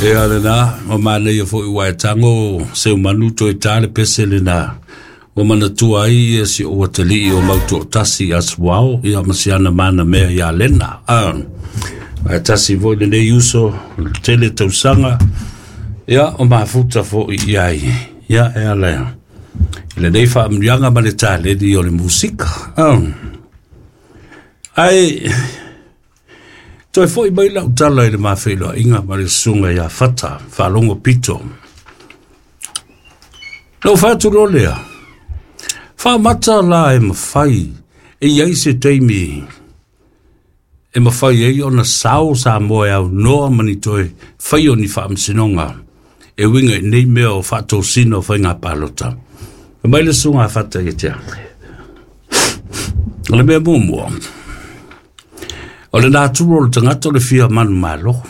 Ia lena, ua manaia foi ua e tago Seumanu toe ta le pese lena. Ua manatua ai ia si ou atalii o Mautoatasi as well, ia ma si ana mana mea ia Lena. Ah, ae tasi foi lenei uso, tele tausaga, ia o mafuta foi i ai. Ia e ala i lenei faamanuiaga ma le taleni o le musika. Ah. Ae toe foi mai lau tala i le mafeiloaiga ma le susuga ia Fata Faalogo Pito. Na ou fai atu loa lea, faamata la e mafai e i ai se taimi e mafai ai ona sao Samoa e aunoa ma ni toe fai o ni faamasinoga e uiga i nei mea o faatosina o faiga palota. Fai mai le susuga a Fata ia te au, o le mea muamua, o le natura o le tagata o le fia manumalo.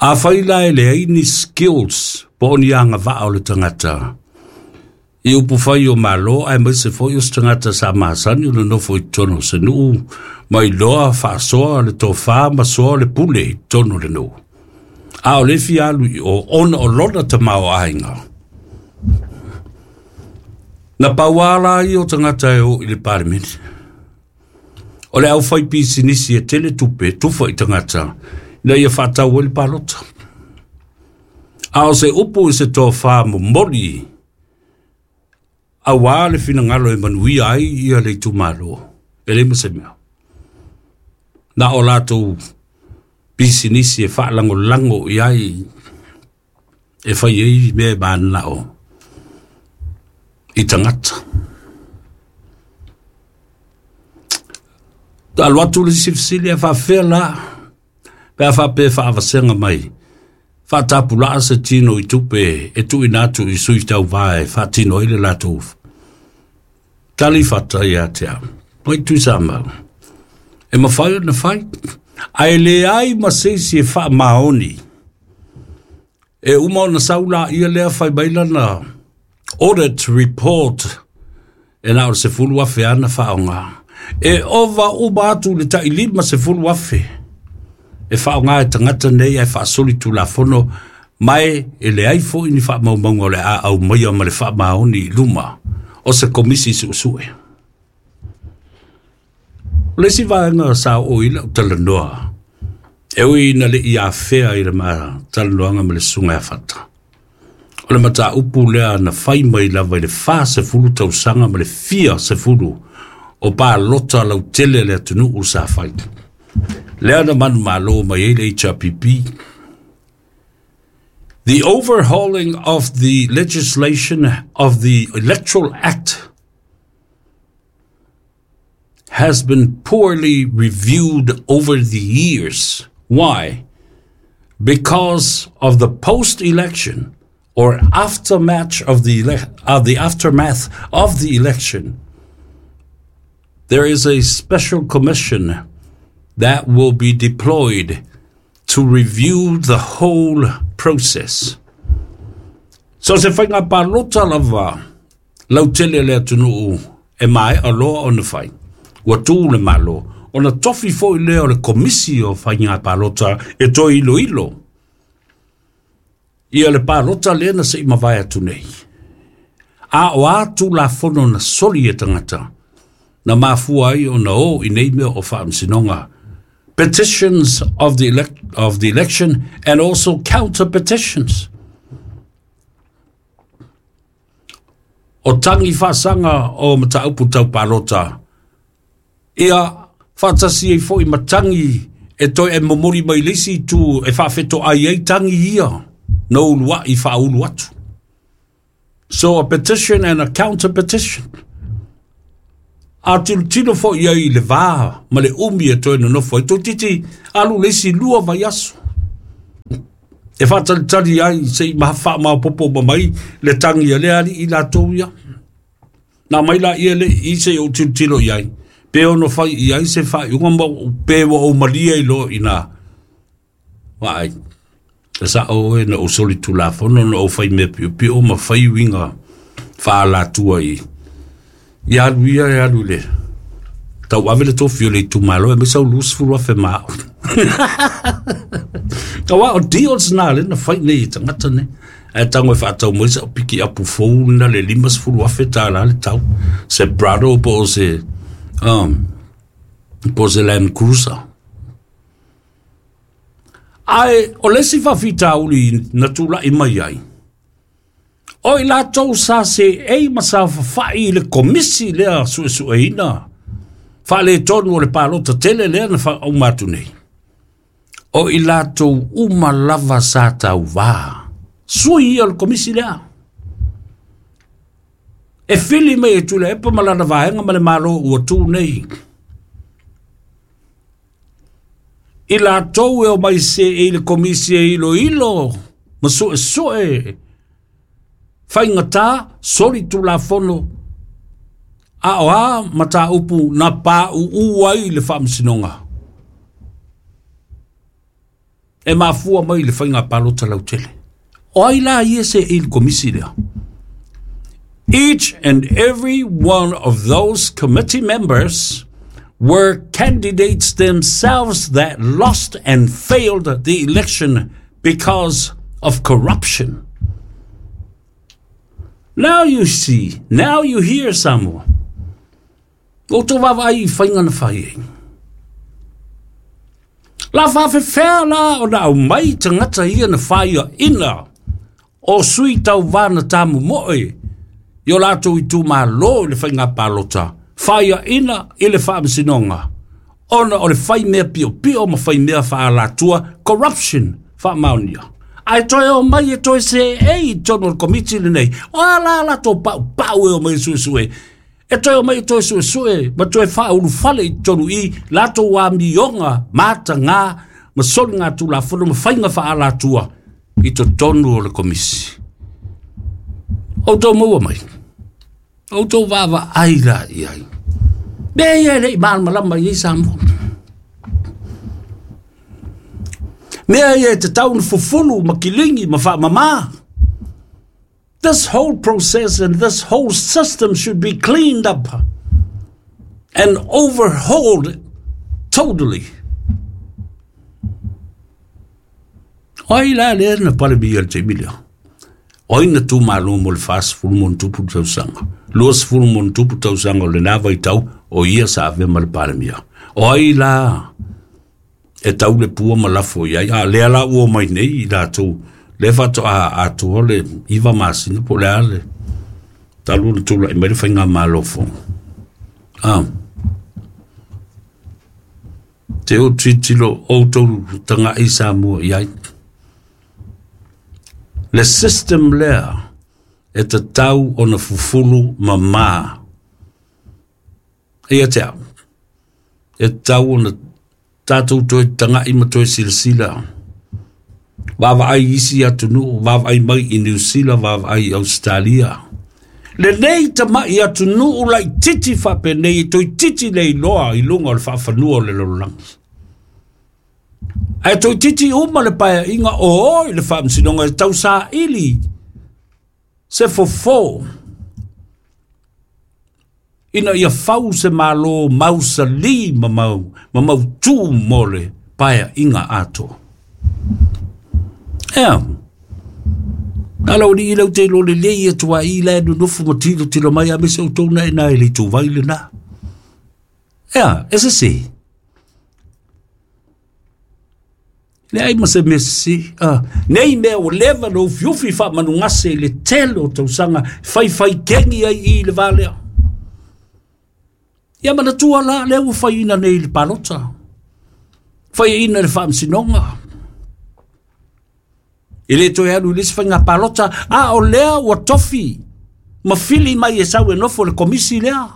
Afai la e leai ni skills po o ni agavaa o le tagata i upufai o Malo aemaise foi o se tagata sa masani o le nofo i totonu o se nuu ma iloa faasoa le tofa ma soa le pule i totonu o le nuu. A o le fia alu i o ona o lona tamaoaiga. Na pau lava la ia o tagata e o i le Palemene. O le aufaipisinisi e tele tupe e tufa i tagata ina ia faatau ai le palota. A o se upu i se tofa momoli aua le finagalo e manuia ai ia le itumalo, e leai ma se mea. Na o latou pisinisi e faalagolago i ai e fai ai mea e mananao i tagata. Alu atu le isi fesili, ae faafefea la pe a faapea e faavasega mai faatapulaa se tino i tupe e tuuina atu i sui tauva e faatino ai le latou tali fata ia te au. Mai Tuisamau, e mafai ona fai, ae leai ma se isi e faamaoni. E uma ona sau laia lea fai mai lana audit report e na o le 10,000 ana faaaoga. E ova uma atu i le tai 50,000 e faaaoga e tagata nei ae faasoli tulafono ma e leai foi ni faamaumauga o le a aumaia ma le faamaoni i luma o se komisi suesue. O le isi vaega sa oo i lau talanoa, e ui ina le i afea i le talanoaga ma le susuga ia Fata. O le mataupu lea na fai mai lava i le 40 tausaga ma le fia sefulu o palota lautele a le atunuu sa fai. Lea na manumalo mai ai le HRPP. The overhauling of the legislation of the Electoral Act has been poorly reviewed over the years. Why? Because of the post-election or aftermath of the aftermath of the election, there is a special commission that will be deployed to review the whole process. So se faiga palota lava lautele a le atunuu e maea loa ona fai. Ua tu le Malo, ona tofi foi lea o le komisi o faiga palota e toe iloilo ia le palota lea na se i mavae atu nei. A o a tulafono na soli e tagata, na mafua ai ona o i nei mea o faamasinoga. Petitions of the election and also counter petitions. O tangi faasaga o mataupu tau palota, ia faatasi ai foi ma tangi e toe e momoli mai le isi itu e faafetoai ai tangi ia na uluai faaulu atu. So a petition and a counter petition. A tilotilo foi ai i le va ma le umi e toe nonofo ai. Toeitiiti alu le isi 2 vaiaso e faatalitali ai se i faamaopoopo uma mai le tangi a lea alii latou ia. Na mai la ia le i se i ou tilotilo i ai, pe ono fai i ai se faaiuga ma pe ua ou malie ai loa i na. Vaai, e sao oe na ou soli tulafono, na ou fai mea piopio ma fai uiga faalatua i. Ia alu ia e alu i le tauave le tofi o le itumalo e aemaise au 20,000 ma au. Auā o deals na lea na fai nei e tagata nei. Ae tago e faatau mai sau pikiapu fou lena le $50,000 le tau, se Prado po o se po o se Land Cruiser. Ae o le isi faafitauli na tulai mai ai, o i latou sa seei ma saofafai i le komisi lea suesueina faaletonu o le palota tele lea na faauma atu nei, o i latou uma lava sa tauvā, sui ia o le komisi lea. E fili mai e Tuilaepa ma lana vaega ma le Malo ua tu nei. I latou e omai seei i le komisi e iloilo ma suesue faigata solitulafono a o a mataupu na pauu ai le faamasinoga e mafua mai le faiga palota lautele. O ai la ia seei i le komisi lea? Each and every one of those committee members were candidates themselves that lost and failed the election because of corruption. Now you see, now you hear Samoa. Ua outou vaavaai i faiga na fai ai. La faafefea la ona aumai tagata ia na faiaina o sui tauvā na tamomoe i o latou itumalo i le faiga palota, faiaina i le faamasinoga ona o le fai mea piopio ma fai mea faaalatua, corruption faamaonia. Ae toe omai e toe seei i totonu o le komiti lenei, o a la latou paupau e omai e suesue, e toe omai e toe suesue ma toe faaulufale i totonu i latou amioga matagā ma soligatulafono ma faiga faaalatua i totonu o le komisi. Outou maua mai, outou vaavaai la i ai. Mea ia e le i malamalama i ai Samoa. Mea ia e tatau ona fufulu ma kiligi ma faamama. This whole process and this whole system should be cleaned up and overhauled totally. O ai la lea na palemia i le taimi lea? O ai na tu malo mo le 40 ma ona tupu tausaga? 20 ma ona tupu tausaga o lena vaitau o ia sa avea ma le palemia. O ai la e tau le pua ma lafo i ai? A lea la ua omai nei i latou lea faatoa atoa le 9 masina po o le a le talu ona tulai mai le faigamalo fou. Ah. Te o tilotilo outou taga'i Samoa i ai. Le system lea e tatau ona fufulu mamā. Ia te au, e tatau ona tatou toe taga'i ma toe silasila. Vaavaai i isi atunuu, vaavaai mai i Niu Sila, vaavaai i Ausetalia. Lenei tama'i atunuu laitiiti faapenei e toeitiiti le iloa i luga o le faafanua o le lalolagi. Ae toeitiiti uma le paeaiga o o i le faamasinoga e tausaili se fofo ina ia fau se Malo mausali ma mau ma mautū mo le paeaiga atoa. Ea, na lau alii lau te iloa lelei atu ai i la e nonofo ma tilotilo mai aemaise outou na ina e le ituvai lena. Ea, e sese. Leai ma se mea sese. Nei mea ua leva ona ufiufi faamanugase i le tele o tausaga faifaikegi ai i le va lea. Ia manatua la, lea ua faiina nei i le palota, faiina i le faamasinoga. E le toe alu i le isi faiga palota, a o lea ua tofi ma fili mai e sau e nofo i le komisi lea.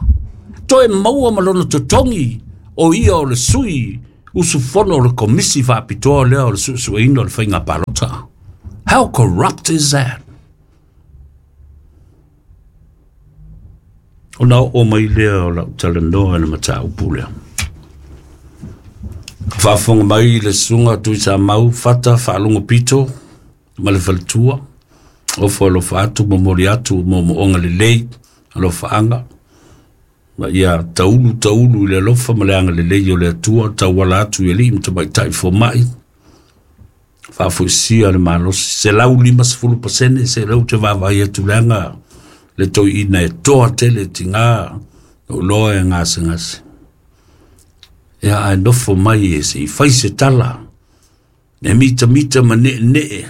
Toe maua ma lona totogi o ia o le sui usufono o le komisi faapitoa lea o le suesueina o le faiga palota. How corrupt is that? Ona oo mai lea o lau talanoa i le mataupu lea. Faafofoga mai le susuga Tuisamau Fata Faalogo Pito ma le faletua. Ofo alofa atu, momoli atu moomooga lelei, alofaaga, ma ia taulu taulu i le alofa ma le agalelei o le Atua, tauala atu i alii ma tamaitai fomai. Faafoisia le malosi, 150% se leu te vaavaai atu leaga le toeaina e toa tele tigā lou iloa e gasegase. Ia ae nofo mai e se i fai se tala, e mitamita ma ne'ene'e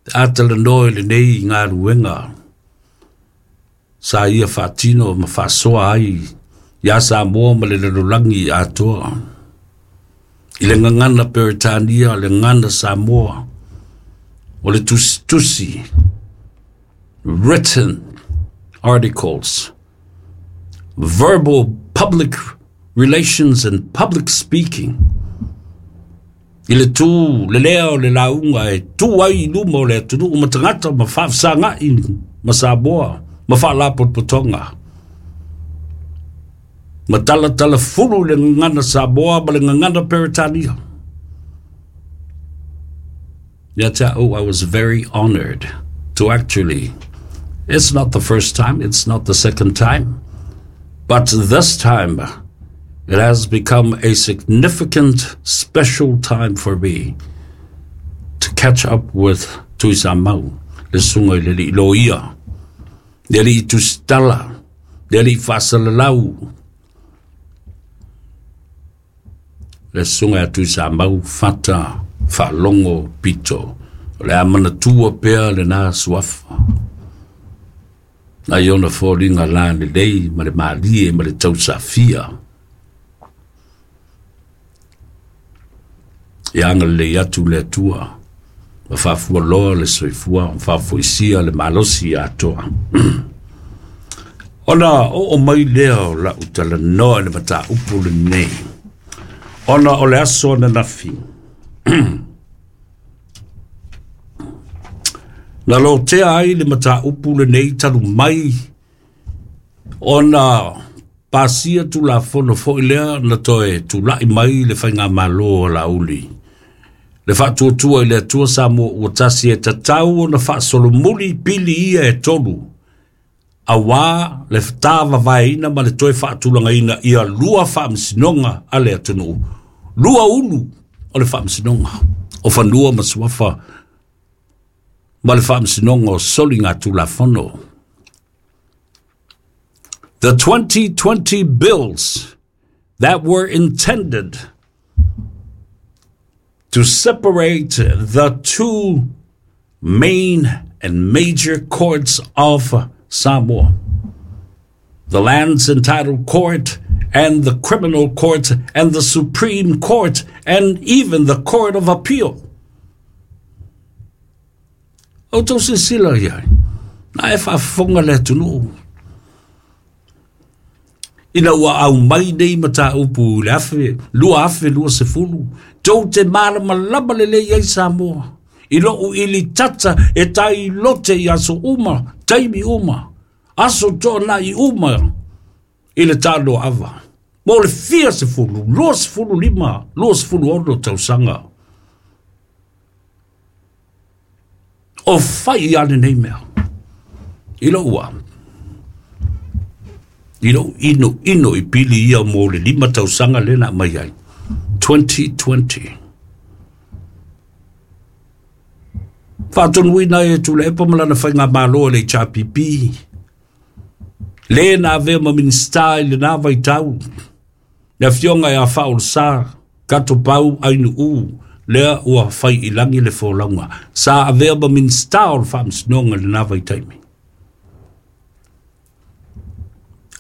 pe a talanoa i lenei galuega sa ia faatino ma faasoa ai iā Samoa ma le lalolagi atoa. I le gagana Peretania, le gagana Samoa, o le tusitusi, written articles, verbal public relations and public speaking, i le tū le lea o le lauga e tū ai i luma o le atunuu ma tagata ma faafesaga'i ma Samoa ma faalapotopotoga ma talatalafulu le gagana Samoa ma le gagana Peretania. Ia te au, I was very honored to actually, it's not the first time, it's not the second time, but this time it has become a significant special time for me to catch up with Tuisamau, le susuga i le alii loia, le alii tusitala, le alii faasalalau, le susuga ia Tuisamau Fata Faalogo Pito. O le a manatua pea lena suafa. Nai ona foliga lalelei ma le malie ma le tausafia. Ia agalelei atu le Atua ma faafualoa le soifua ma faafoisia le malosi atoa. Ona oo mai lea o lau talanoa i le mataupu lenei, ona o le aso ananafi, na lotea ai le mataupu lenei talu mai ona pasia Tulafono foi lea na toe tula'i mai le faigamalo a Laauli. Le faatuatua i le Atua Samoa ua tasi e tatau ona faasolomuli pili ia e tolu, auā le tāvavaeina ma le toe faatulagaina ia lua faamasinoga a le atunuu, lua ulu o le faamasinoga o fanua ma suafa ma le faamasinoga o soligatulafono. The 2020 bills that were intended to separate the two main and major courts of Samoa, the Lands and Title Court and the Criminal Court and the Supreme Court and even the Court of Appeal. Outou silasila i ai, na e faafofoga le atunuu. Ina ua aumai nei mataupu i le 2020, tou te malamalama lelei ai Samoa i lou ilitata e tai lote i aso uma, taimi uma, aso toanai uma i le tanoaava. Mo le fia sefulu, 25, 26 tausaga. O fai a lenei mea. I lou a. I lou ino ino i pili ia mo le 5 tausaga lea na aumai ai. 2020. Faatonuina ai e Tuilaepa ma lana faigamalo e le HRPP, le na avea ma Minisita i lena vaitau, le afioga ia Faaolesa Katopau Ainuu, lea ua fai i lagi le folauga, sa avea ma Minisita o le Faamasinoga i lena vaitaimi.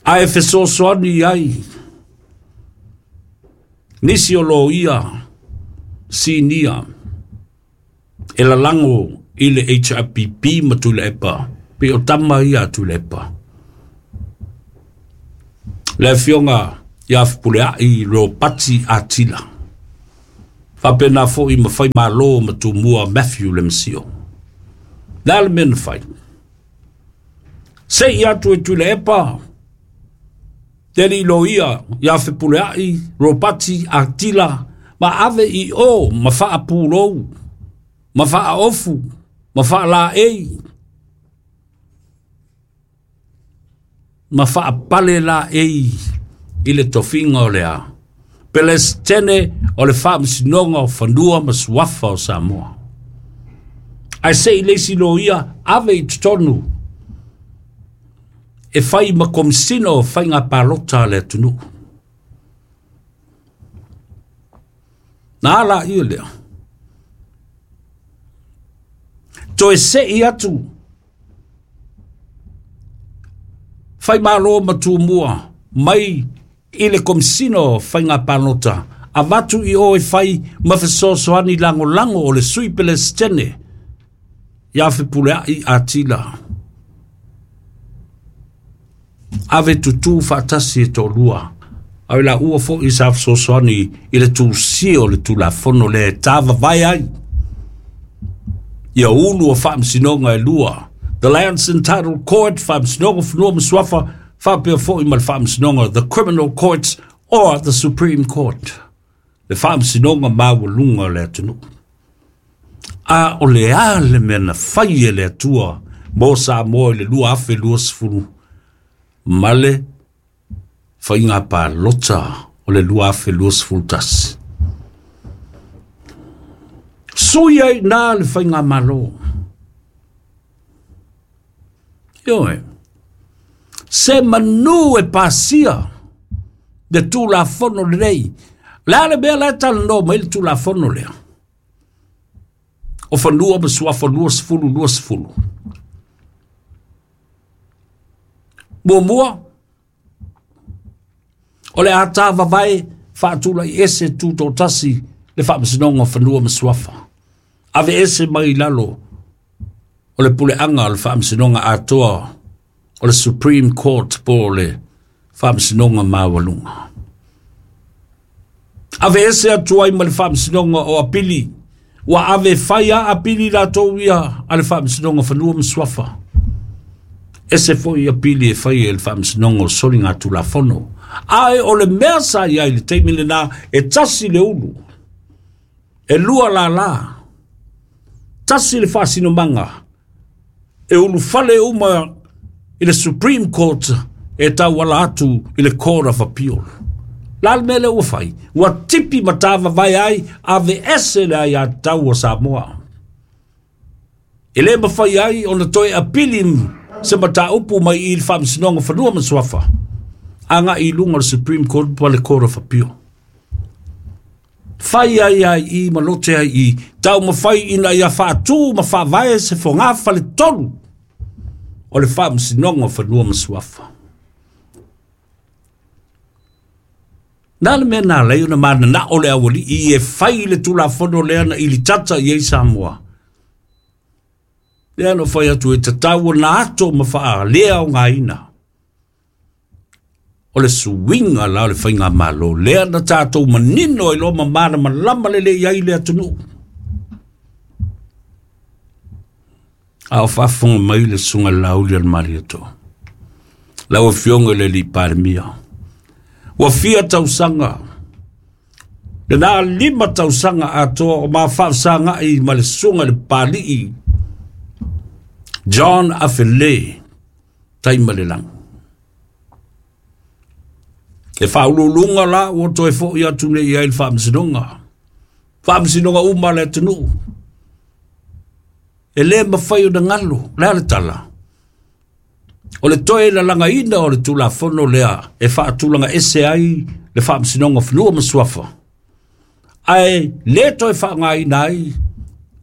Ae fesoasoani ai nisi o loia sinia e lalago i le HRPP ma Tuilaepa, pei o tama ia a Tuilaepa. Le afioga ia Fepuleai Ropati Atila, faapena foi ma Faimalo ma Tumua Matthew Lemesio. O le a le mea na fai? Se i atu e Tuilaepa le alii loia ia Fepuleai Ropati Atila ma ave i o ma faapulou ma faaofu ma faalaei ma faapale laei i le tofiga o le a Pelesitene o le Faamasinoga o Fanua ma Suafa o Samoa. Ae se i le isi loia ave i totonu e fai ma Komisina o Faiga Palota a le atunuu. Na ala ia lea. Toe sei atu fai malo ma tumua mai i le Komisina o Faiga Palota avatu i o e fai ma fesoasoani lagolago o le Sui Pelesitene ia Fepuleai Atila. Ave tutū faatasi e toalua. Ae la ua foi sa fesoasoani i le tusia o le Tulafono lea e tāvavae ai ia ulu o faamasinoga e lua. The Lands and Title Court, Faamasinoga o Fanua ma Suafa, faapea foi ma le Faamasinoga, the Criminal Courts or the Supreme Court. Le Faamasinoga maualuga o le atunuu. A o le a le mea na fai e le Atua mo Samoa i le 2020 ma le faiga palota o le 2021. Sui ai nā le faiga malo. Ioe, se manu e pasia le Tulafono lenei. Le a le mea la e talanoa mai le Tulafono lea o Fanua ma Suafa 2020. Muamua, o le a tāvavae faatulai ese tūtoatasi le Faamasinoga o Fanua ma Suafa. Ave ese mai i lalo o le puleaga o le Faamasinoga atoa o le Supreme Court po o le Faamasinoga Maualuga. Ave ese atu ai ma le Faamasinoga o Apili, ua ave fai a apili latou ia a le Faamasinoga o Fanua ma Suafa. Ese foi apili e fai e le Faamasinoga o Soliga Tulafono. Ae o le mea sa iai le taimi lena e tasi le ulu, e lua lala, tasi le faasinomaga, e ulufale uma i le Supreme Court e tauala atu i le Court of Appeal. La le mea lea ua fai, ua tipi ma tāvavae ai ave ese le aiatatau a Samoa. E le mafai ai ona toe apili se mataupu mai i le Faamasinoga o Fanua ma Suafa, agai i luga o le Supreme Court po le Court of Appeal. Fai ai ai i ma lote ai i, taumafai ina ia faatū ma faavae se fogā faletolu o le Faamasinoga o Fanua ma Suafa. Na le mea na alai ona mananao le aualii e fai le Tulafono lea na ilitata i ai Samoa. Lea na fai atu e tatau ona ato ma faalea o ngāina. O le suiga la o le faigamalo lea na tatou manino ai loa ma malamalama lelei ai le atunuu. A o faafofoga mai le susuga i le Lauli o le Malietoa. Lau Afioga i le Alii Palemia, ua fia tausaga, lena 5 tausaga atoa o ma faafesagai ma le susuga i le Papalii John Afele Taimalelagi. E faauluuluga la ua toe foi atu nei i ai le faamasinoga. Faamasinoga uma a le atunuu. E le mafai ona galo, le a le tala. O le toe lalagaina o le Tulafono lea e faatulaga ese ai le Faamasinoga o Fanua ma Suafa. Ae le toe faaaogaina ai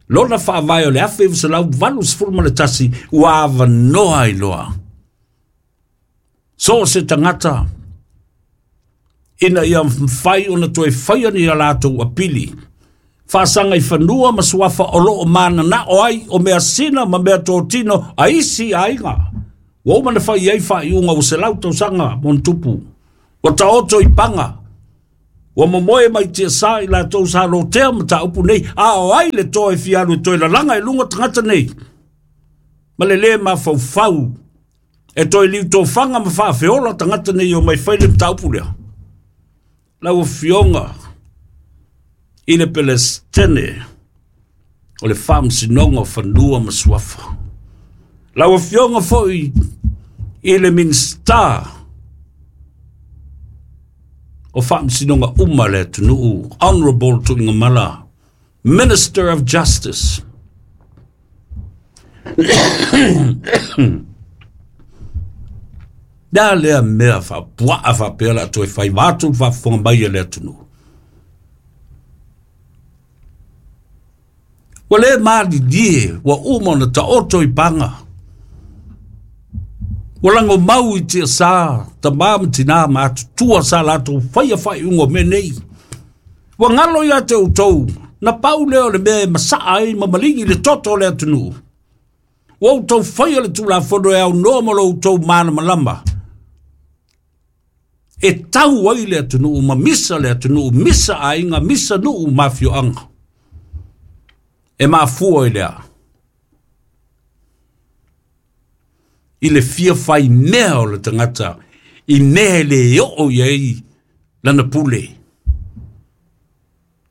lona faavae o le 1981 ua avanoa ai loa. So o se tagata ina ia mafai ona toe faia ni a latou apili. Faasaga i fanua ma suafa o loo mananao ai o mea sina ma mea totino a isi aiga. Ua uma na fai ai faaiuga ua 100 tausaga ma ona tupu. Ua taoto i paga. Ua momoe mai tiasa i latou sa lotea mataupu nei. A o ai le toe fialu e toe lalaga i luga tagata nei. Ma le lē mafaufau e toe liutofaga ma faafeola tagata nei o mai fai le mataupu lea. Lau Afioga i le Pelestene o le Faamasinoga o Fanua ma Suafa. Lau Afioga foi i le Minisita o Faamasinoga uma le atunuu, Honorable Tuigamala, Minister of Justice. Le lea mea faapuaa faapea la toe fai vaatu le faafofoga mai a le atunuu. Ua le malilie, ua uma ona taoto i paga. Ua lago mau i tiasa, tamā ma tinā ma atutua sa latou faia faaiuga o mea nei. Ua galo ia te outou, na pau lea o le mea e masaa ai ma maligi le toto o le atunuu. Ua outou faia le Tulafono e aunoa ma lo outou malamalama. E tau ai le atunuu ma misa le atunuu, misa aiga, misa nuu ma afioaga. E mafua i lea. I le fia fai mea o le tagata, i mea e le oo i ai lana pule.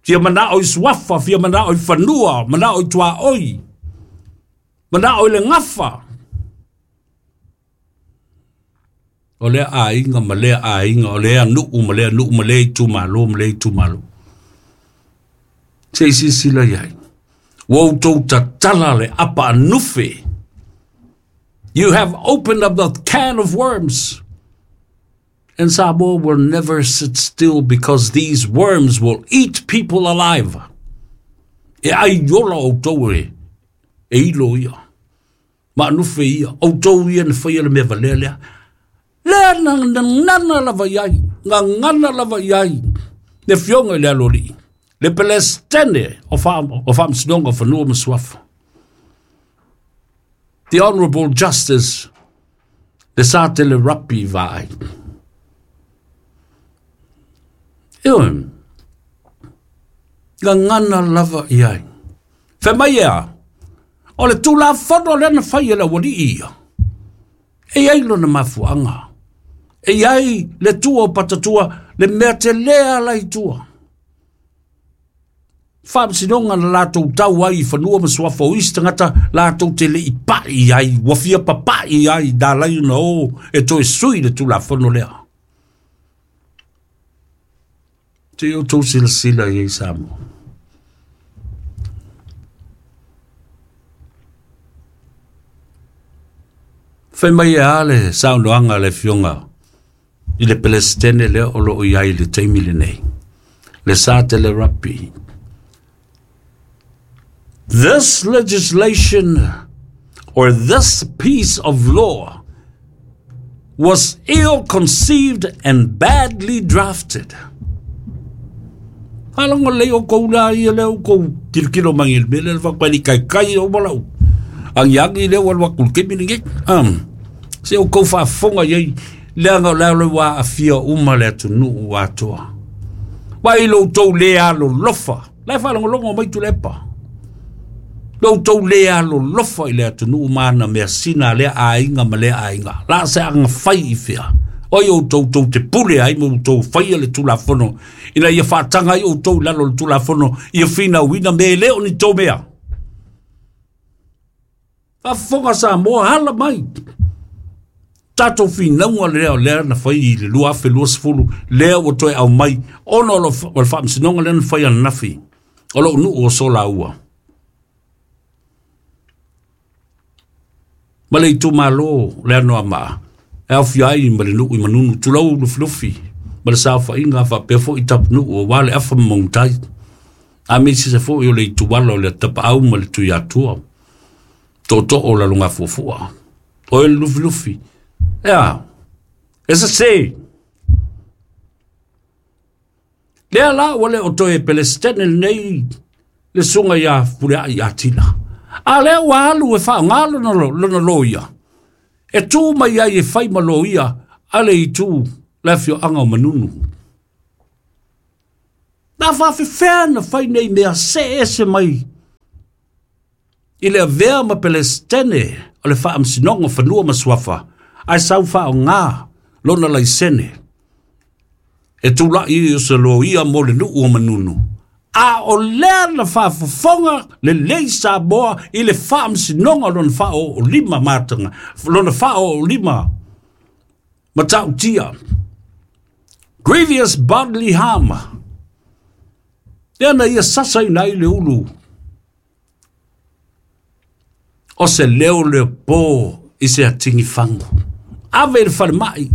Fia manao i suafa, fia manao i fanua, manao i tuaoi, manao i le gafa. O lea aiga ma lea aiga, o lea nuu ma lea nuu, ma lea itumalo ma lea itumalo. Se i silasila i ai. Ua outou tatala le apa anufe. You have opened up the can of worms. And Samoa will never sit still because these worms will eat people alive. E ai ola outou e ilo ia. Ma anufe ia. Outou ia na faia le mea valea lea. Lea gagana lava i ai. Gagana lava i ai. Le fioga i le aloalii. Le Pelestene o Faamasinoga o Fanua ma Suafa. The Honorable Justice le Satele Rapi Vaai. Ioe, gagana lava i ai. Fai mai ea, o le Tulafono lea na fai e le aualii ia. E i ai lona mafuaaga. E i ai le tua o patatua, le mea telē ala i tua. Faamasinoga na latou tau ai i fanua ma suafa o isi tagata latou te le i pai ai, ua fia papai ai, na alai ona o e toe sui le Tulafono lea. Se i outou silasila i ai Samoa. Fai mai e a le saunoaga a le afioga i le Pelesitene lea o lo o i ai i le taimi lenei, le Satele Rapi. This legislation or this piece of law was ill-conceived and badly drafted. Faalogo lelei outou la ia lea outou tilotilo mai i le mea lea le faapea i kaikai o malau agiagi lea ua alu atu i le taimi lenei. Se outou faafofoga i ai, leaga o le a ua aafia uma le atunuu atoa. Vai lo outou le alolofa, la e faalogologo mai Tuilaepa. Lo outou le alolofa i le atunuu ma ana measina a lea aiga ma lea aiga. La se aga fai i fea. Oi outou tou te pule ai ma outou faia le Tulafono, ina ia faataga ai outou i lalo o le Tulafono, ia finauina me e le o ni tou mea. Faafofoga Samoa, ala mai. Tatou finauga lea o lea na fai i le 2020, lea ua toe aumai, ona o le faamasinoga lea na fai ananafi, o lou nuu o Solaua. Ma le itumalo le Anoamaa, e aofia ai ma le nuu i Manunu, tulou Lufilufi, ma le saofaiga faapea foi Tapunuu aua le afa ma Magutai. A me sisa foi o le ituala o le Tapaau ma le Tuiatua, tootoo o Lalogafuafua, o le Lufilufi. Ea, e sese. Lea la ua le o toe Pelestene lenei le susuga ia Fuleai Atila. A lea ua alu e faaaoga lona loia, e tu mai ai e fai ma loia a le itu le afioaga o Manunu. Na faafefea na fai nei mea see ese mai i le avea ma Pelestene o le Faamasinoga o Fanua ma Suafa, ae sau faaaoga lona laisene e tulai o se loia mo le nuu o Manunu. A o lea na faafofoga lelei Samoa i le faamasinoga o lona faaoolima mataga, lona faaoolima matautia. Grievous bodily harm. Lea na ia sasaina ai le ulu o se leo le po i se atigifagu. Ave i le falemai.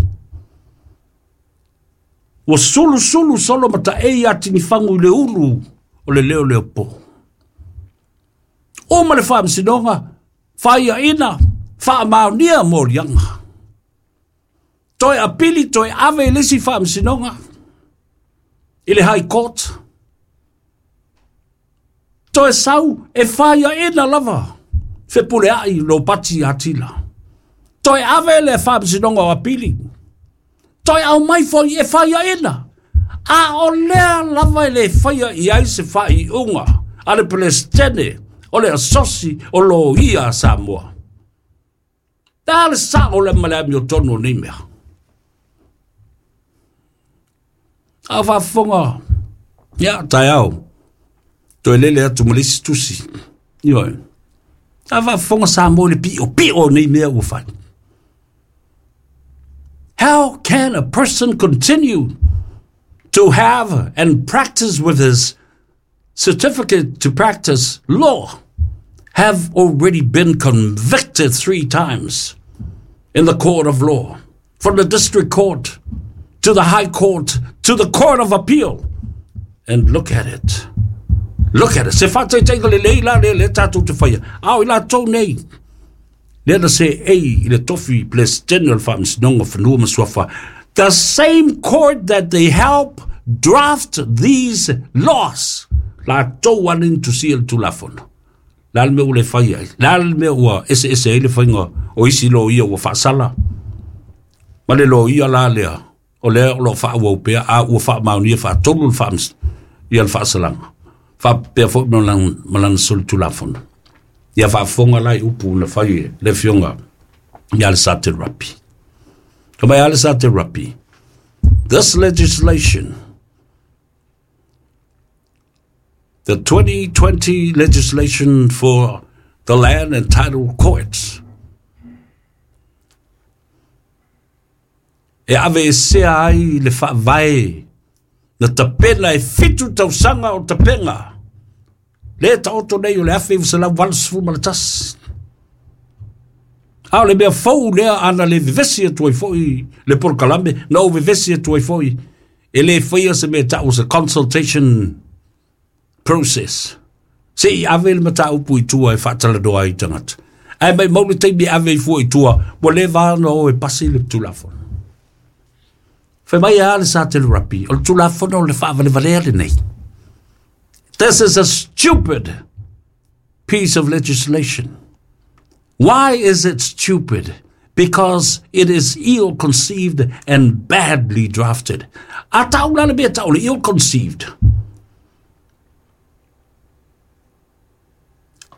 Ua sulusulu solo mataei atigifagu i le ulu o le leo leo po. Uma le faamasinoga, faiaina, faamaonia moliaga. Toe apili, toe ave i le isi faamasinoga, i le High Court. Toe sau e faiaina lava, fepuleai Lopati Atila. Toe ave le faamasinoga o apili. Toe aumai foi e faiaina. A o lea lava e le faia i ai se faaiuga a le Peresetene o le Asosi o Loia a Samoa. Ta le sao le ma le amiotonu o nei mea. A faafofoga, ia, taeao, toe lele atu ma le isi tusi. Ioe. A faafofoga Samoa i le piopio o nei mea ua fai. How can a person continue to have and practice with his certificate to practice law have already been convicted 3 times in the court of law, from the district court to the high court to the court of appeal? And look at it. Look at it. Se faataitaiga lelei la lea lea tatou te faia. A o i latou nei, lea na seei i le tofi Peresetene o le Faamasinoga o Fanua ma Suafa. The same court that they help draft these laws. Latou lava na tusia le Tulafono. Le a le mea ua le fai ai? Le a le mea ua eseese ai le faiga o isi loia ua faasala? Ma le loia la lea, o lea o lo o faaauau pea, a ua faamaonia faatolu le faamas, ia le faasalaga. Faapea foi ma lana solitulafono. Ia faafofoga la i upu na fai e le afioga ia Alesate Rapi. Ka mai Alesate Rapi, this legislation, the 2020 legislation for the land and title courts, e aveesea ai le faavae na tapena e 7 tausaga o tapena le taoto nei o le 1981. A o le mea fou lea ana le vevesi atu ai foi le polokalame, na ou vevesi atu ai foi e le faia se mea tau se consultation process. Se i ave le mataupu i tua e faatalanoa ai tagata. Ae maumau le taimi e ave ai fua i tua, ua leva ona o e pasi le Tulafono. Fai mai a le Satele Rapi, o le Tulafono o le faavalevalea lenei. This is a stupid piece of legislation. Why is it stupid? Because it is ill-conceived and badly drafted. A tau la le mea tau le ill-conceived.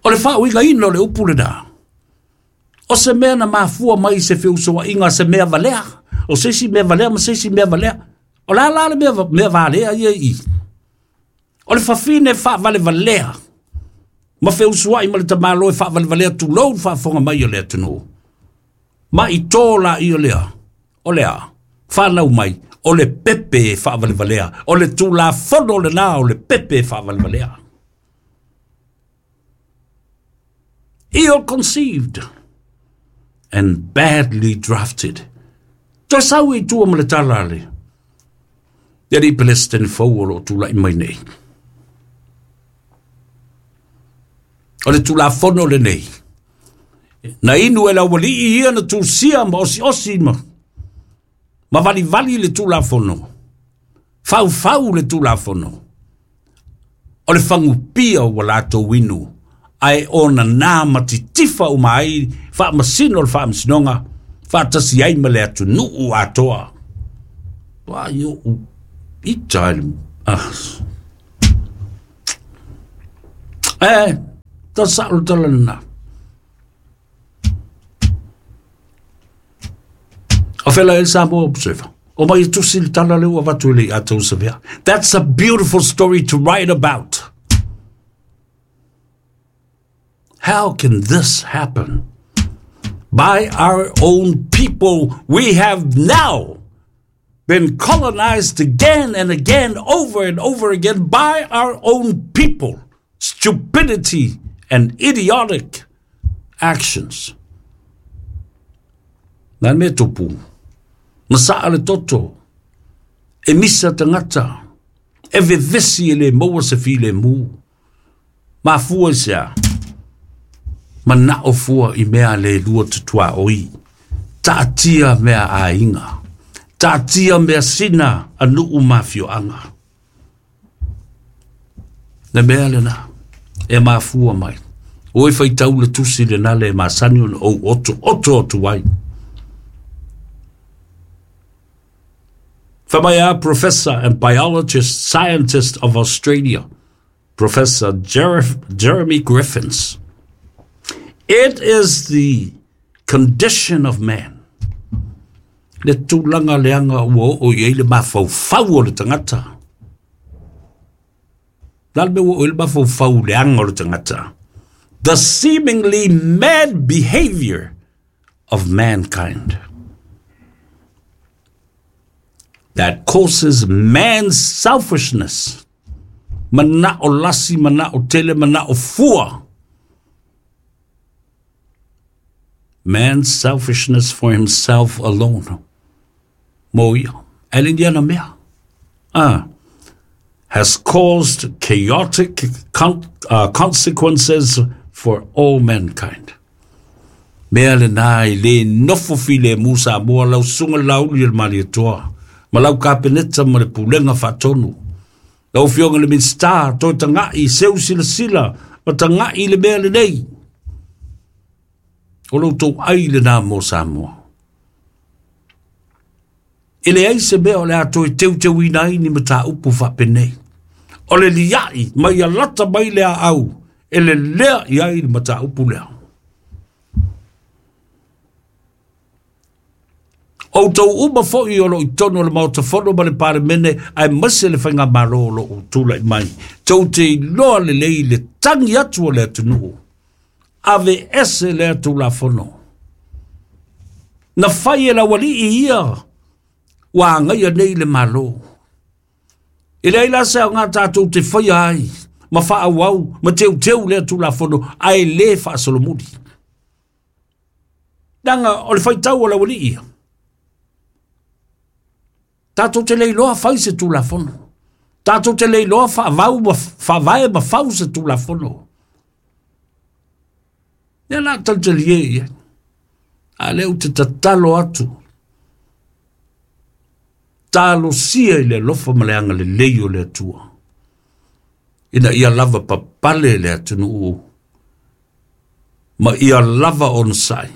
O le faauigaina o le upu lena. O se mea na mafua mai se feusoaiga, se mea valea. O se isi mea valea ma se isi mea valea. O la la le mea valea ia i. O le fafine faavalevalea. Ma feusuai ma le tamalo e faavalevalea tulou le faafofoga mai o le atunuu. Ma i tō la ia lea. O lea, whanau mai, o le pepe e faavalevalea. O le Tulafono lena o le pepe e faavalevalea. Ill-conceived and badly drafted. Toe sau i tua ma le tala le. Le alii Peresetene fou o lo o tula'i mai nei. O le Tulafono lenei. Na inu e le aualii ia na tusia ma osiosi ma valivali le Tulafono. Faufau le Tulafono. O le fagupia ua latou inu. Ae ona nā ma titifa uma ai faamasino o le faamasinoga faatasi ai ma le atunuu atoa. Ua i o'u ita i le... E, ta sao le tala lena. O fela e le Samoa Observer. O mai e tusi le tala lea ua avatu e le Iata Savea. That's a beautiful story to write about. How can this happen? By our own people, we have now been colonized again and again, over and over again by our own people. Stupidity and idiotic actions. Na mea tupu, masaa le toto, e misa tagata, e vevesi e le maua se filemu. Mafua i se a? Manao fua i mea le lua tutuaoi. Taatia mea aiga. Taatia mea sina a nuu ma afioaga. Le mea lena e mafua mai. O e faitau le tusi lena le masani ona ou oto oto atu ai. Fai professor and biologist scientist of Australia, Professor Jeremy Griffins. It is the condition of man. Le tulaga leaga ua oo i ai le mafaufau o le tagata. Le a le mea ua oo i ai le mafaufau leaga o le tagata? The seemingly mad behavior of mankind that causes man's selfishness. Mana'o lasi, mana'o tele, mana'o fua. Man's selfishness for himself alone. Mo ia. E le ni ana mea. Ah. Has caused chaotic consequences for all mankind. Mea lena e le nofo filemu Samoa lau susuga Laauli o le Malietoa ma lau Kapeneta ma le Pulega Faatonu. Lau Afioga i le Minisita, toe taga'i, seu silasila ma taga'i i le mea lenei. O lo outou ai lena mo Samoa. E leai se mea o le a toe teuteuina ai ni mataupu faapenei. O le lia'i mai ia lata mai le aau e lelea i ai le mataupu lea. Outou uma foi o lo o i totonu o le Maota Fono ma le Palemene aemaise le Faigamalo o lo o tulai mai, tou te iloa lelei le tagi atu o le atunuu, aveese lea Tulafono. Na fai e le aualii ia ua agaia nei le Malo. E leai la se aoga tatou te faia ai ma faaauau ma teuteu lea Tulafono ae le faasolomuli. Leaga o le faitau a le aualii ia. Tatou te le iloa fai se Tulafono. Tatou te le iloa faavau ma faavae ma fau se Tulafono. Lea la talitalie i ai. A lea ou te tatalo atu, talosia i le alofa ma le agalelei o le Atua, ina ia lava papale le atunuu ma ia lava onosai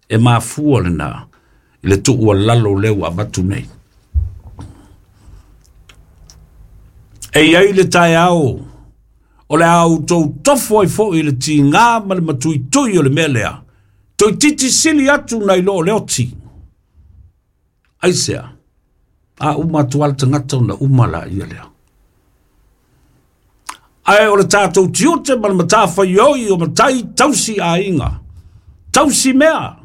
e mafua lena i le tuualalo lea ua avatu nei. E i ai le taeao o le a outou tofo ai foi i le tiga ma le matuitui o le mea lea, toeitiiti sili atu nai lo o le oti. Aisea? A uma atu lava le tagata ona uma laia lea. Ae o le tatou tiute ma le matafaioi o matai tausi aiga, tausi mea,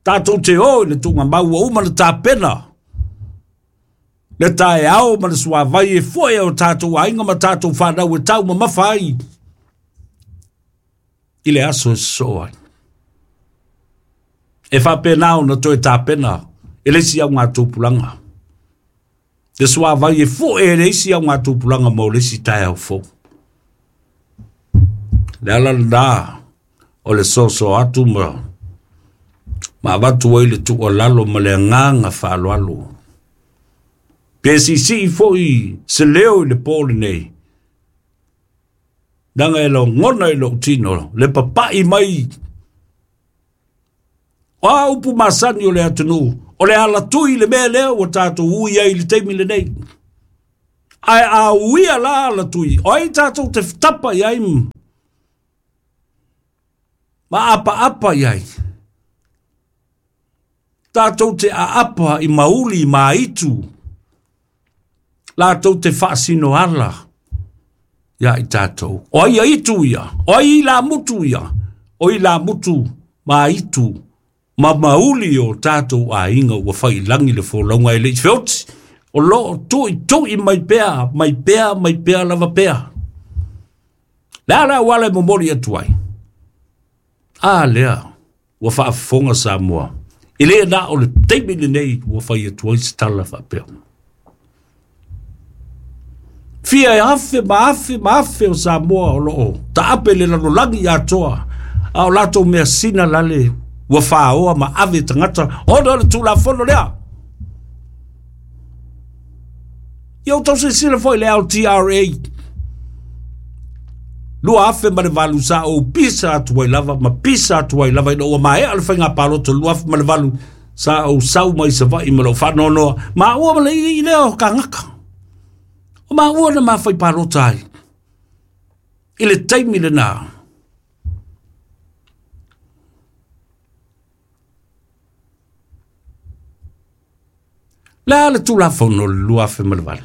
tatou te o i le tuugamau ua uma ona tapena le taeao ma le suavai e foe o tatou aiga ma tatou fanau e taumamafa ai i le aso e sosoo ai. E faapena ona toe tapena e le isi augatupulaga le suavai e foe e le isi augatupulaga mo le isi taeao fou. Le ala lena o le soso atu ma avatu ai le tuualalo ma le agaga faaaloalo. Pe siisii foi se leo i le po lenei, leaga e logona i lou tino le papai mai o a upu masani o le atunuu, o le alatui le mea lea ua tatou ui ai i le taimi lenei. Ae a uia la alatui, o ai tatou te tapa i ai ma apaapa i ai? Tatou te aapa i mauli ma aitu, latou te faasinoala ia i tatou. O ai aitu ia? O ai ilamutu ia? O ilamutu ma aitu Ma mauli o tatou aiga ua failagi le folauga e le i feoti, o loo tuitui mai pea, mai pea, mai pea lava pea. Le a le auala e momoli atu ai? A lea, ua faafofoga Samoa. E le na o le taimi lenei ua fai atu ai se tala faapea. Fia e afe ma afe ma afe o Samoa o loo taape le lalolagi atoa, a o latou mea sina lale ua faaoa ma ave tagata ona o le Tulafono lea. Ia outou silasila foi i le LTRA 2008 sa ou pisa atu ai lava ma pisa atu ai lava ina ua maea le faiga palota 2008 sa ou sau mai Savaii ma lou faanoanoa maua ma le ii lea o kagaka. O maua na mafai palota ai i le taimi lena. Le a le Tulafono o le 2008?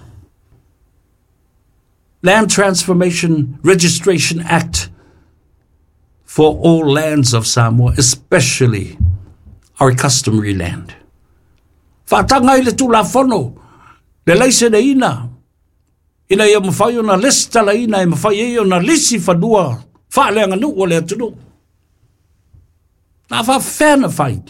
Land Transformation Registration Act for all lands of Samoa, especially our customary land. Faataga ai le Tulafono le laiseneina ina ia mafai ona lesitalaina e mafai ai ona lisi fanua faaleaganuu o le atunuu. Na faafefea na fai?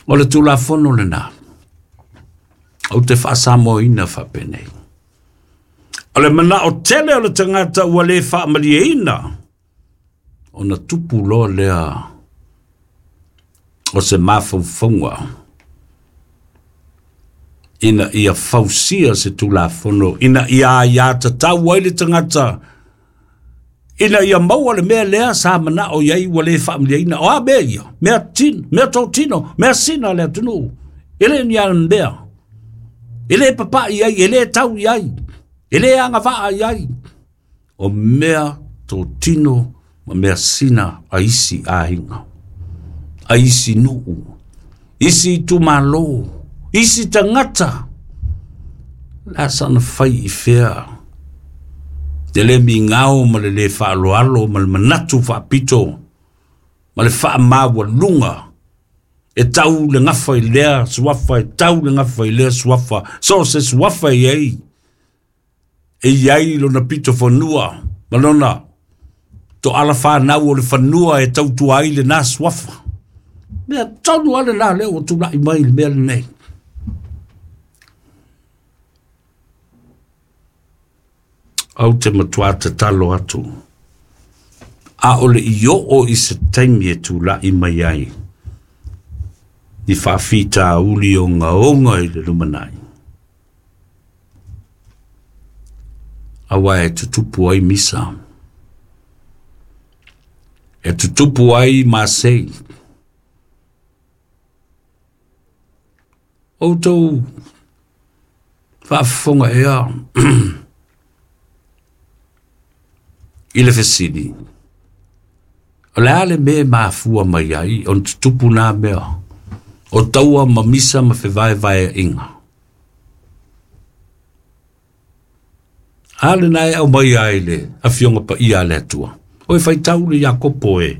O le Tulafono lena, ou te faasamoaina faapenei. O le manao tele o le tagata ua le faamalieina, ona tupu loa lea o se mafaufauga ina ia fausia se Tulafono, ina ia aiatatau ai le tagata, ina ia maua le mea lea sa manao i ai ua le faamalieina. O a mea ia? Mea tino, mea totino, mea sina le atunuu. E le ni mea. E le papai ai, e le tau i ai, e le agavaa i ai. O mea totino ma mea sina a isi aiga, a isi nuu, isi itumalo, isi tagata. La sana fai i fea. Le le migao ma le le faaaloalo ma le manatu faapito ma le faamaualuga e tau le gafa i lea suafa, e tau le gafa i lea suafa, so se suafa i ai, e i ai lona pito fanua, ma lona to ala whanau o le fanua e tautua ai le nā suafa. Mea tonu ale nā leo o tūlai mai le mea lenei. Au te matua tatalo atu. A o le i oo i se taimi e tūlai mai ai. Ni whaafita uli o ngaonga i le lumanai. Awa e tutupu ai misa. E tutupu ai masei. Outou faafofoga ea i le fesili. O le a le mea e mafua mai ai ona tutupu nā mea o taua ma misa ma fevaevaeaiga. A lena e aumai ai le afioga paia a le Atua. O e faitau le Iakopo e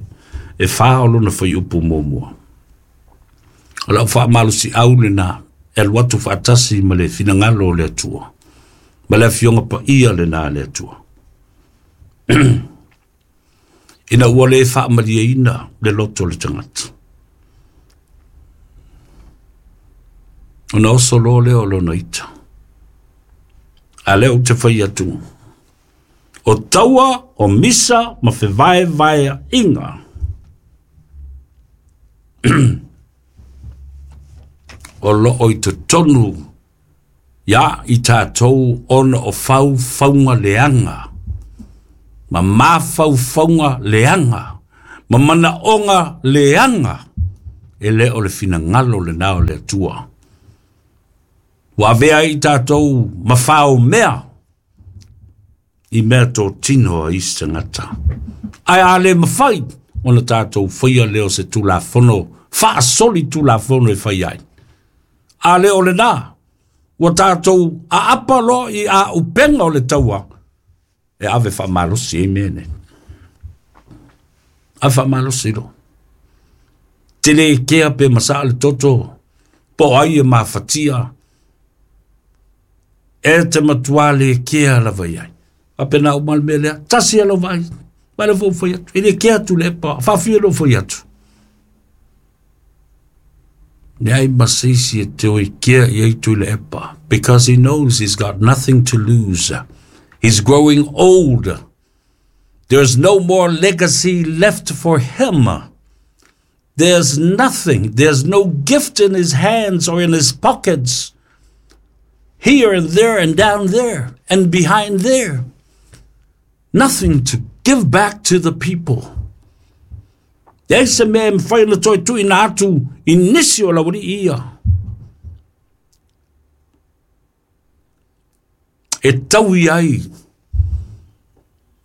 whā o lona whaiupu muamua. O lau faamalosi au lena e alu atu faatasi ma le finagalo o le Atua. Ma le afioga paia lena a le Atua. Ina ua le faamalieina le loto o le tagata. Ona oso loa lea o lona ita. A lea ou te fai atu. O taua o misa ma fevaevaeaiga. O loo i totonu ia i tātou ona o faufauga leaga. Ma mafaufauga leaga. Ma manaoga leaga. E le o le finagalo lena o le Atua. Ua avea ai tātou ma fao mea i mea totino a isi tagata. Ae a le mafai ona tātou faia lea o se Tulafono, faasoli Tulafono e fai ai. A le o lena, Ua tatou aapa loa i auupega o le taua, e ave faamalosi ai mea nei. Ave faamalosi loa. Te le kea pe masaa le toto, po o ai e mafatia, e te matua le kea lava i ai. Faapena uma le mea lea, tasi lava lau vaai, vaai lea foi ua fai atu, e le kea Tuilaepa, faafia lou fai atu. Leai ma se isi e te oi kea i ai Tuilaepa, because he knows he's got nothing to lose. He's growing old. There's no more legacy left for him. There's nothing. There's no gift in his hands or in his pockets. Here and there and down there and behind there. Nothing to give back to the people. Leai se mea e mafai ona toe tuuina atu i nisi o laualii ia. E taui ai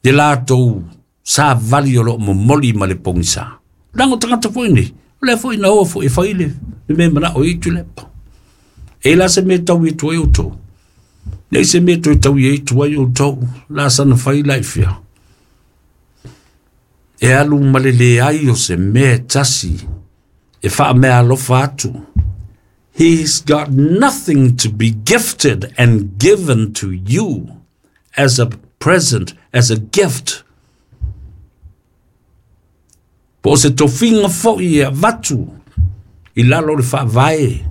le latou savali o lo o momoli ma le pogisa. Leaga o tagata foi nei, o lea foi na o foi e fai le mea e manao ai Tuilaepa. E la se mea e taui atu ai outou. Leai se mea e toe taui atu ai outou. La sana fai la i fea. E alu ma le leai o se mea e tasi e faameaalofa atu. He's got nothing to be gifted and given to you as a present, as a gift. Po o se tofiga foi e avatu i lalo o le faavae.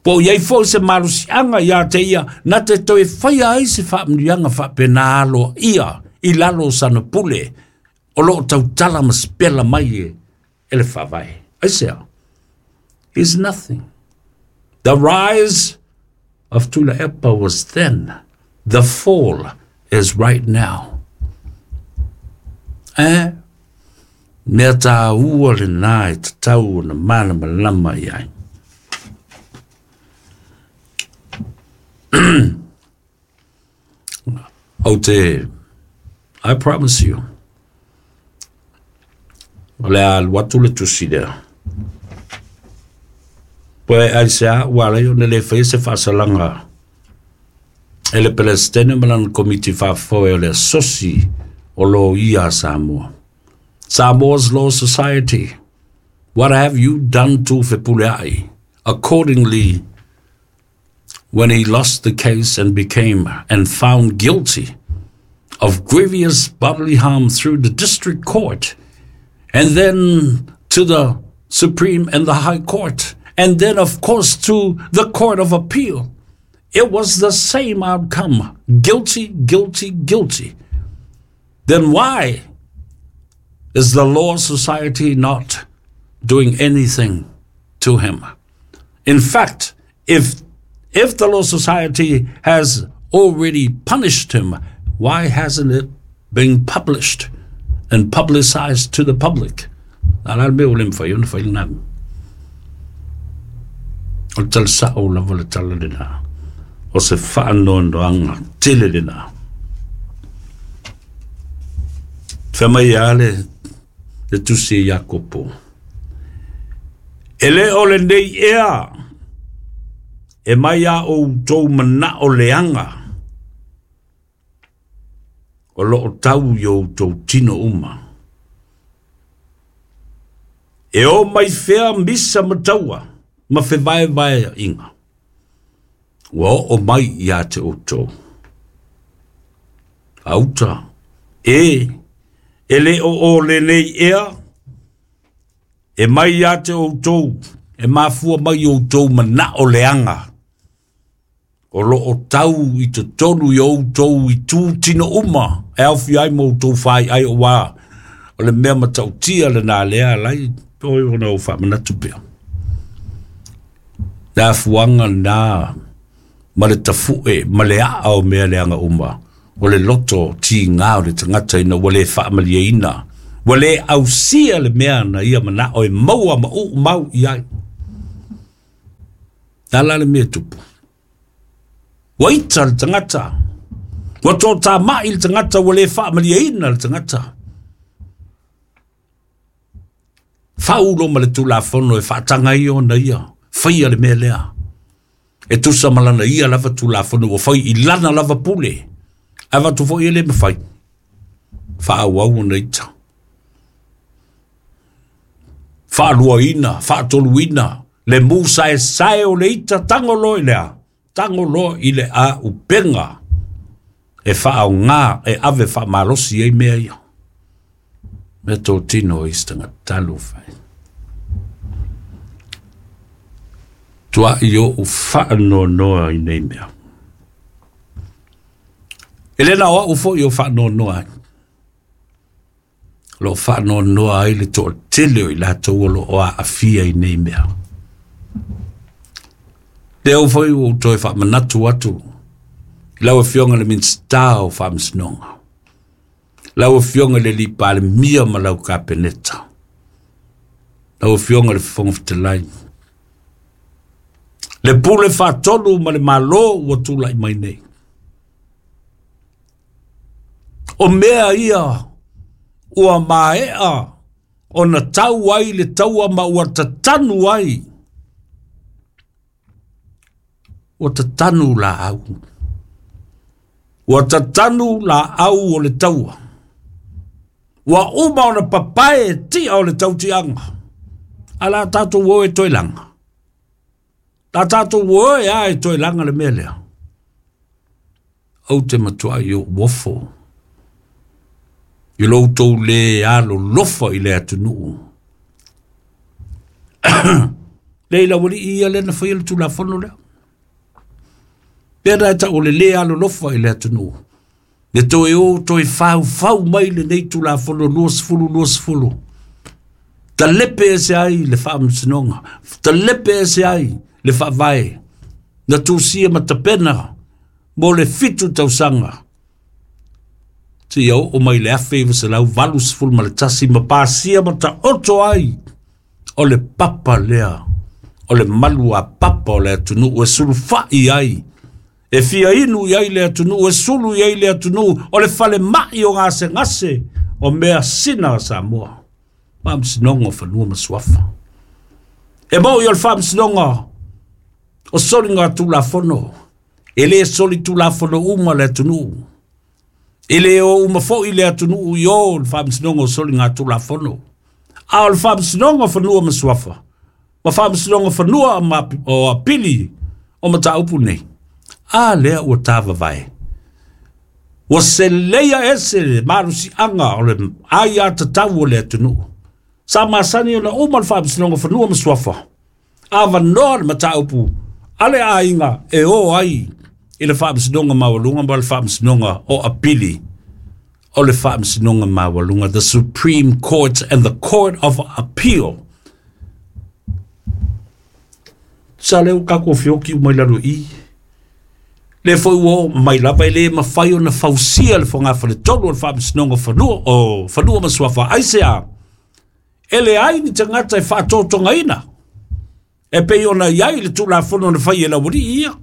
Po o i ai foi se malosiaga ia te ia na te toe faia ai se faamanuiaga faapena aloaia i lalo o sana pule o lo o tautala ma sipela mai e, e le faavae. Aisea? Is nothing. The rise of Tuilaepa was then. The fall is right now. Eh? Mea tāua lenā e tatau ona malamalama i ai. Ou te, I promise you, o le a alu atu le tusi lea. Poe aisea ua ala ai ona le faia se faasalaga e le Peresetene ma lana Komiti Faafoe o le Asosi o Loia a Samoa. Samoa's Law Society, what have you done to Fepuleai? Accordingly, when he lost the case and became and found guilty of grievous bodily harm through the district court and then to the Supreme and the High Court, and then, of course, to the Court of Appeal. It was the same outcome guilty, guilty, guilty. Then why is the Law Society not doing anything to him? In fact, if if the Law Society has already punished him, why hasn't it been published and publicized to the public? A la le mea ua le mafai ona fai lena mea. O le tala sao lava le tala lena. O se faanoanoaga tele lena. Fai mai a le, le tusi e Iakopo. E le o lenei ea e mai a outou manao leaga o lo o tau i outou tino uma. E o mai fea misa ma taua ma fevaevaeaiga ua oo mai ia te outou. Auta, e, e le o o lenei ea, e mai ia te outou, e mafua mai i outou manao leaga o lo o tau i totonu i outou itu tino uma e aofia ai ma outou faiai auā o le mea matautia lenā lea alai oi ona ou faamanatu pea. Le afuaga lenā ma le tafu'e ma le a'a o mea leaga uma o le loto tigā o le tagata ina ua le faamalieina ua le ausia le mea na ia mana'o e maua ma uu mau i ai. Le a la le mea e tupu? Ua ita le tagata, ua toatamai le tagata, ua le faamalieina le tagata. Fau lo ma le Tulafono e faataga ai ona ia faia le mea lea. E tusa ma lana ia lava Tulafono ua fai i lana lava pule. Ae avatu foi e le mafai. Faaauau ona ita. Faaluaina, faatoluina, le musaesae o le ita, tago loa i le a? Tago loa i le auupega e faaaoga e ave faamalosi ai mea ia. Mea totino i se tagata talofa e. Tuai ou faanoanoa i nei mea. E le na o au foi o faanoanoa ai. O lo o faanoanoa ai le toatele o i latou o lo o aafia i nei mea. Lea foi ua ou toe faamanatu atu i lau Afioga i le Minisita o Faamasinoga, lau Afioga i le Alii Palemia ma lau Kapeneta, lau Afioga i le Fofoga Fetalai, le pule faatonu ma le Malo ua tulai mai nei. O mea ia ua maea ona tau ai le taua ma ua tatanu ai. Ua tatanu laau. Ua tatanu laau o le taua. Ua uma ona papae tia o le tautiaga. A la tatou o e toe laga. La tatou o e a e toe laga le mea lea. Ou te matuai ou ofo i lo outou le alolofa i le atunuu. Lei lau alii ia lea na faia le Tulafono lea. Pea na e tau o le le alolofa i le atunuu. Le toe o toe faufau mai lenei Tulafono 2020. Talepe ese ai le faamasinoga, talepe ese ai le faavae, na tusia ma tapena mo le 7 tausaga. Seia oo mai le 1981 ma pasia ma taoto ai o le papa lea, o le malu a papa o le atunuu e sulufai ai, e fia inu i ai le atunuu, e sulu i ai le atunuu, o le falemai o gasegase o mea sina a Samoa. Faamasinoga o Fanua ma Suafa. E moi o le faamasinoga o soliga Tulafono, e le soli Tulafono uma le atunuu. E le o uma foi le atunuu i o le faamasinoga o soliga Tulafono. A o le faamasinoga o Fanua ma Suafa, ma faamasinoga fanua ma o apili o mataupu nei, a lea ua tavavae. Ua seleia ese le malosiaga o le aia tatau o le atunuu. Sa masani ona uma le faamasinoga fanua ma suafa. Avanoa le mataupu a le aiga e o ai i le faamasinoga maualuga ma le faamasinoga o apili o le faamasinoga maualuga, the Supreme Court and the Court of Appeal. Sa leo kako fioki umai lalo i. Le foi ua oo mai lava e le mafai ona fausia le fogafale-tolu o le faamasinoga fanua o fanua ma suafa. Aisea? E leai ni tagata e faatotogaina e pei ona i ai le Tulafono na fai e laualii ia.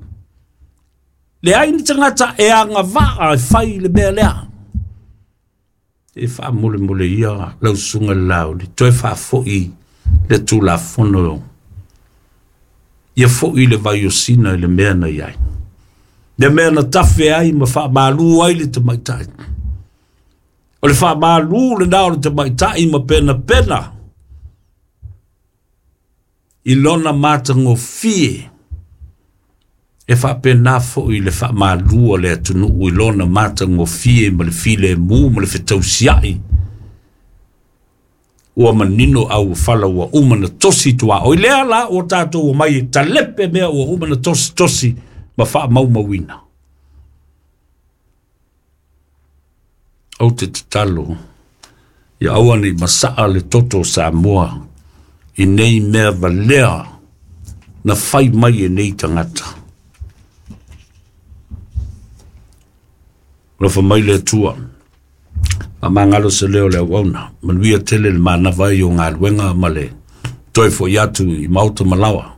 Leai ni tagata e agavaa e fai le mea lea. E faamolemole ia lau susuga i le Lauli, toe faafoi le Tulafono ia foi le vaiosina i le mea na i ai. Le mea na tafe ai ma faamalu ai le tamaitai. O le faamalu lena o le tamaitai ma penapena i lona matagofie e faapena foi le faamalu o le atunuu i lona matagofie ma le filemu ma le fetausiai. Ua manino au fala ua uma na tosi tuaoi. Lea la ua tatou omai e talepe mea ua uma na tosi tosi ma faamaumauina. Ou te tatalo ia aua nei masaa le toto o Samoa i nei mea valea na fai mai e nei tagata. Alofa mai le Atua. Faamagalo se leo le auauna. Manuia tele le manava ai o galuega ma le toe foi atu i maota ma laoa.